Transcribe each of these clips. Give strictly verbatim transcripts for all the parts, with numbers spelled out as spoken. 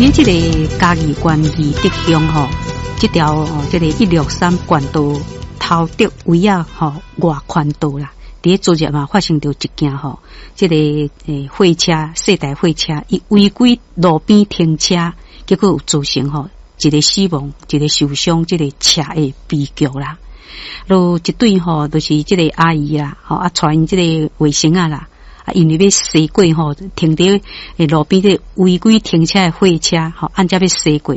佇這个嘉義縣義德鄉吼，這條哦，這个一六三縣道頭竹圍仔吼外環道啦，佇昨日嘛發生著一件吼，這个欸貨車細台貨車，伊違規路邊停車，結果有造成吼一个死亡，一个受傷，這个車禍悲劇啦。就一對吼，就是這个阿姨啦，吼啊，帶𪜶這个外甥仔啦。啊，因為欲駛過吼，停佇路邊這違規停車的貨車，吼，按才欲駛過，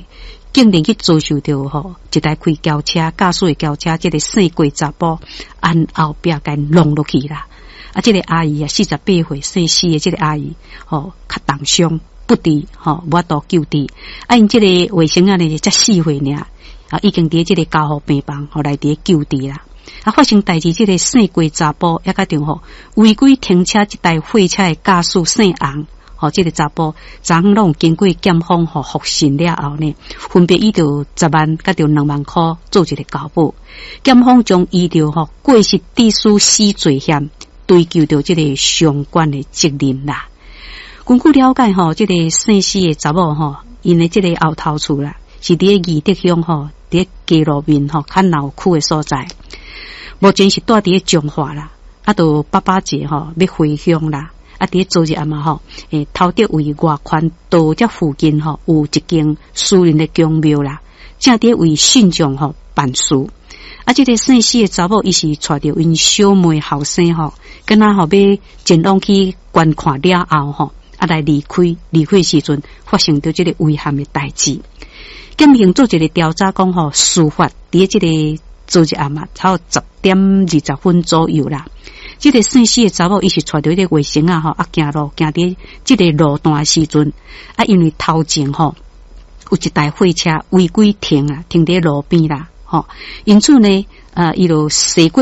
竟然去遭受著吼一台開轎車駕駛的轎車，這个姓郭查埔按後壁共挏落去啦。啊，這个阿姨啊，四十八歲，姓施的這个阿姨，吼，較重傷不治，吼，無法度救治。啊，𪜶這个外甥仔呢，才四歲爾，啊，已經佇這个加護病房，予來佇救治啦。啊！發生代誌，這个姓郭查埔，抑佮著吼違規停車這台貨車的駕駛姓洪，吼，這个查埔，昨昏攏有經過檢方吼複訊了後呢，分別以著十萬佮著兩萬箍做一个交保。檢方將依著吼過失致死死罪嫌追究著這个相關的責任啦。根據了解吼，這个姓施的查某吼，𪜶的這个後頭厝啦，是佇義德鄉吼，佇街路面吼較鬧區的所在。目前是蹛佇咧彰化啦，啊，著爸爸節吼欲回鄉啦，啊，佇咧昨日暗嘛吼，欸，頭竹圍外環道這附近吼，有一間私人的宮廟啦，正佇為信眾吼辦事。啊，這个姓施的查某，伊是帶著𪜶小妹後生吼，敢若吼欲前往去觀看了後吼，啊來離開，離開時陣發生著這个遺憾的代誌。檢警做一个調查，講吼，事發佇這个昨日暗嘛，差不多十點二十分左右啦。這个姓施的查某，伊是帶著這个外甥仔吼，啊行路行佇這个路段的時陣，啊因為頭前吼有一台貨車違規停啊，停佇路邊啦，吼，因此呢，呃，伊就駛過。